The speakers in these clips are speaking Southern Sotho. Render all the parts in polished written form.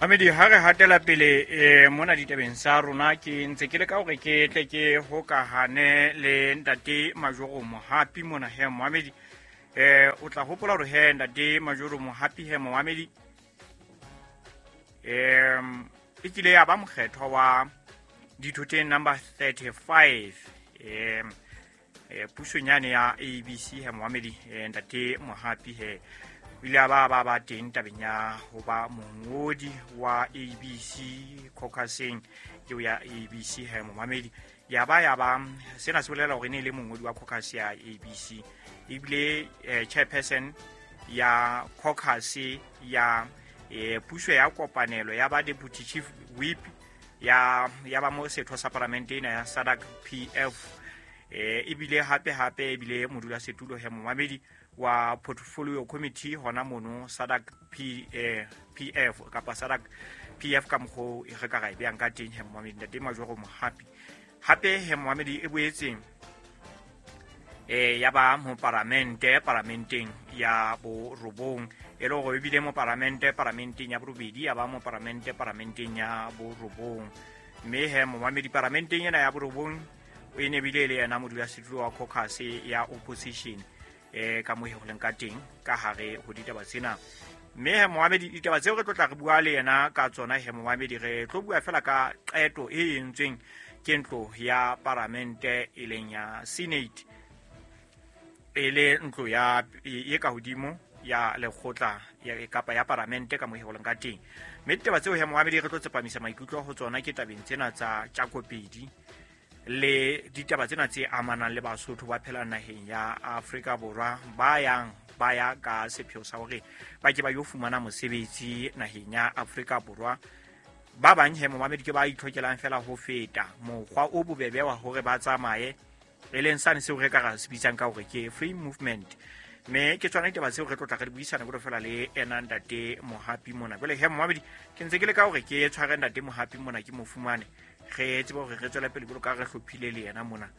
Mamedi, ha re hatela pele mona ditabeng sa rona, ke ntse ke leka hore ke tle ke hokahane le ntate Majoro Mohapi mona he Mohamedi. O tla hopola hore he ntate Majoro Mohapi he Mohamedi e kile ya ba mokgethwa wa dithoteng number 35 pusong yane ya ABC he Mohamedi. Ntate Mohapi he o ile a ba ba ba teng tabeng ya ho ba mongodi wa ABC caucuseng eo ya ABC he momamedi. Ya ba sena se bolela hore e ne e le mongodi wa caucus ya ABC, ebile chairperson ya caucus ya puso ya kopanelo, ya ba deputy chief whip ya ba mo setho sa paramente ena ya SADC PF, ebile hape hape ebile modulasetulo he momamedi wa portfolio committee hona mono SADC PF kapa SADC PF ka mokgwa e re ka ra e beyang ka teng he momamedi. Ntate Majoro Mohapi hape he momamedi e boetseng ya ba moparamente paramenteng ya borobong, e le hore ebile moparamente paramenteng ya borobedi, ya ba moparamente paramenteng ya borobong. Mme he momamedi paramenteng ena ya borobong o e ne bile le yena modulasetulo wa caucus ya opposition ka mo ho leng ka teng ka hare ho ditaba tsena. Mme he momamedi, ditaba tseo re tlo tla re bua le yena ka tsona he momamedi, re tlo bua fela ka qeto e entsweng ke ntlo ya paramente e leng ya Senate, e le ntlo ya e ka hodimo ya lekgotla kapa ya paramente ka mo ho leng ka teng. Mme ditaba tseo he momamedi re tlo tsepamisa maikutlo ho tsona ke tabeng tsena tsa Tjakopedi le ditaba tsena tse amanang le Basotho ba phelang naheng ya Afrika Borwa ba yang ba ya ka sepheo sa hore ba ke ba yo fumana mosebetsi naheng ya Afrika Borwa. Ba bang he momamedi ke ba itlhokelang fela ho feta mokgwa o bobebe wa hore ba tsamaye, e leng sane seo re ka ra se bitsang ka hore ke free movement. Mme ke tsona ditaba tseo re tlo tla re di buisana jwalo fela le ena ntate Mohapi mona. Jwale he momamedi, ke ntse ke le ka hore ke tshware ntate Mohapi mona ke mo fumane, re tsebe hore re tswele pele jwalo ka re hlophile le yena mona.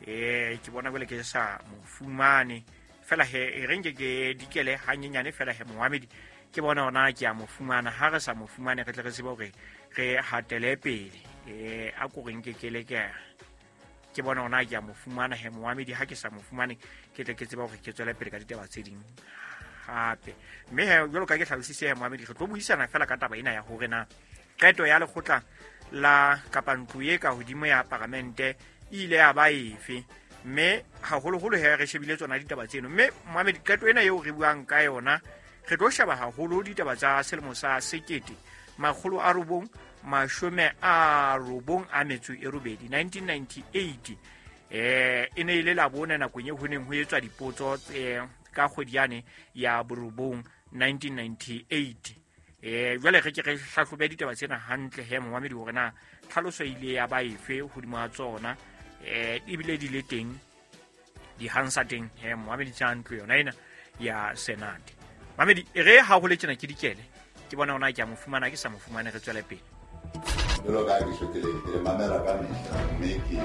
Ke bona jwale ke sa mo fumane fela he, e re nke ke dikele hanyenyane fela he momamedi, ke bona hona ke a mo fumana. Ha re sa mo fumane re tle re tsebe hore re hatele pele. A ko re nke ke le ke bona hona ke a mo fumana he momamedi. Ha ke sa mo fumane ke tle ke tsebe hore ke tswele pele ka ditaba tse ding hape. Mme he jwalo ka ke hlalositse he momamedi, re tlo buisana fela ka taba ena ya hore na qeto ya lekgotla la kapa ntlo e ka hodimo ya paramente e ile ya ba efe, mme haholoholo he re shebile tsona ditaba tseno. Mme momamedi, qeto ena eo re buang ka yona re tlo sheba haholo ditaba tsa selemo sa 1998, 1998. E ne e le labone nakong eo ho neng ho etswa dipotso ka kgwedi yane ya borobong 1998. Jwale re ke re hlahlobe ditaba tsena hantle he momamedi, hore na tlhaloso e ile ya ba efe hodimo ha tsona, ebile di le teng di-Hansard teng he momamedi tsa ntlo yona ena ya Senate. Mamedi, e re ha ho le tjena ke dikele, ke bona hona ke a mo fumana, ke sa mo fumane, re tswele pele. Jwalo ka ha ke tjho ke le mamela ka mehla, mme ke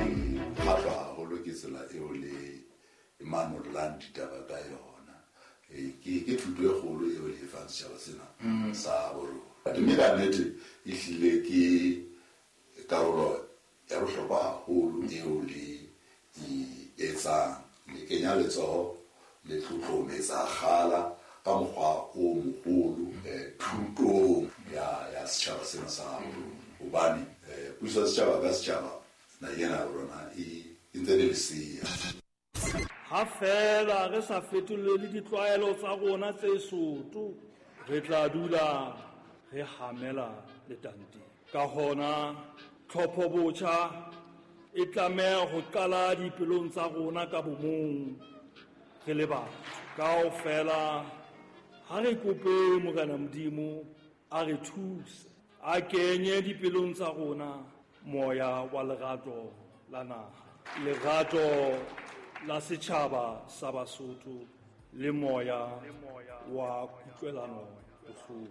kgahlwa haholo ke tsela eo le manollang ditaba ka yona. Ke thuto e kgolo eo le e fang setjhaba sena sa borona. Mme ka nnete e hlile ke karolo ya bohlokwa haholo eo le e etsang. Le kenya letsoho, le tlotlometsa kgala ka mokgwa o moholo thutong ya setjhaba sena sa rona. Hobane puso ya setjhaba ka setjhaba naheng ena ya rona e ntse le lesea. Ha fela re sa fetolele ditlwaelo tsa rona tse soto, re tla dula re hamela letanteng. Ka hona tlhopho botjha e tlameha ho qala dipelong tsa rona ka bomong re le batho. Kaofela ha re kope Morena Modimo a re thuse, a kenye dipelong tsa rona moya wa lerato la naha, lerato la setjhaba sa Basotho le moya wa kutlwelano bohloko.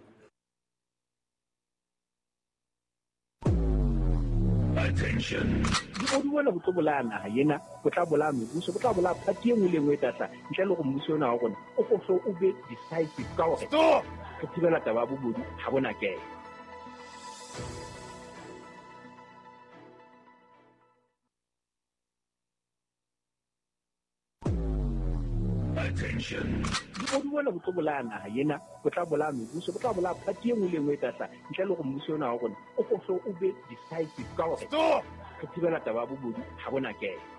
Attention. Bobodu bona bo tlo bolaya naha ena, bo tla bolaya mebuso, bo tla bolaya party e nngwe le e nngwe e tla hlaha. Ntle le hore mmuso ona wa rona o ko hlo o be decisive ka hore Stop! re thibela taba ya bobodu ha bona kena. Attention. Bobodu bona bo tlo bolaya naha ena, bo tla bolaya mebuso, bo tla bolaya party e nngwe le e nngwe e tla hlaha ntle le hore mmuso ona wa rona o ko hle o be decisive ka hore re thibela taba ya bobodu ha bona kena.